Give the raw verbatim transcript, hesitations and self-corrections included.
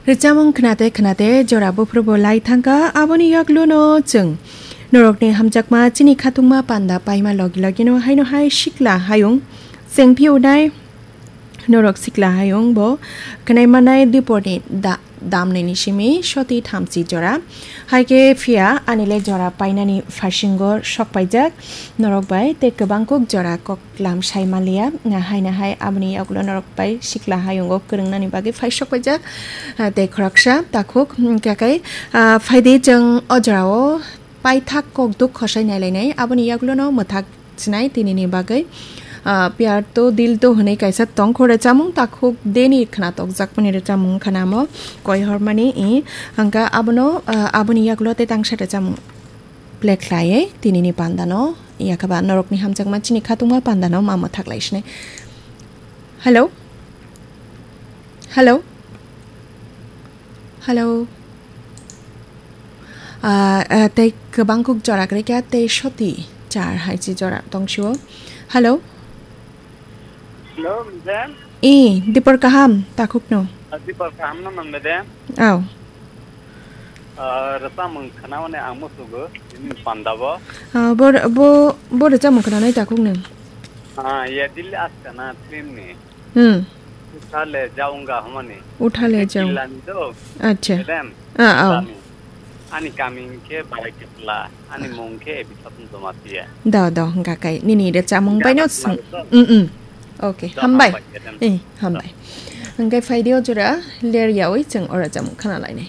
Rwchapmung khnate khnate jora buphuru bo lai thangkha, aboni yagluno chwng norokni hamjakma chini khatungma panda paima logi logino haino hai sikla hayung chengphi unai norok sikla hayung bo khnai manai diporni da-, damnaini simi soti thamchi jora. Hai khe phiya ani le jora painani phasingo sok paijak norok bai tei kwbang kuk jora kok lam sai manliya, na hai na hai aboni yagulo norok bai sikla hayungo kwrwngnani bagwi phai sok paijak, ah, tei khoroksa takhuk, mm, kakai, ah, phaidi chwng o jorao paithak kok duk khosai nailainai, aboni yagulono mwthak sinai tinini bagwi. Ah, pyar to dil to hwnwi kaisa tongkho rwchapmung takhuk deni khna tokjakmani rwchapmung khna mo koi hormani i hangka abono, ah, aboni yagulo tei tangsa rwchapmung play khlaiwi tinini pandano, yakhaba norokni hamjakma chini khatungma pandano ma mwthak lai sinai. Hello? Hello? Hello? Ah, ah, tei kwbang kuk jora kwrwi kha, tei soti char hai chi jora tong sio. Hello? Hello, madam. I, dipor kaham, takhukno. Ah, dipor kaham no man, madam. Aw. Ah, rwchapmung khnaoni ang musugo, ini panda bo. Ah, bo, bo, bo rwchapmung khnanai takhukno. Ah, ya dil askana film ni. Hmm. Utha le jaunga hamani. Utha le jaung. Kilani do. Acha. Madam. Ah, aw. Kami. Ani kami ke Barai Kepla, ani mung ke Ebi Satun Jamatia. Do, do, hwnkha kai. Nini rwchapmung bai no sung. Mm, mm. Okay, hambai. Eh, hambai. Hwnkhe phaidi o jora ler yawi chwng o rwchapmung khna lainai.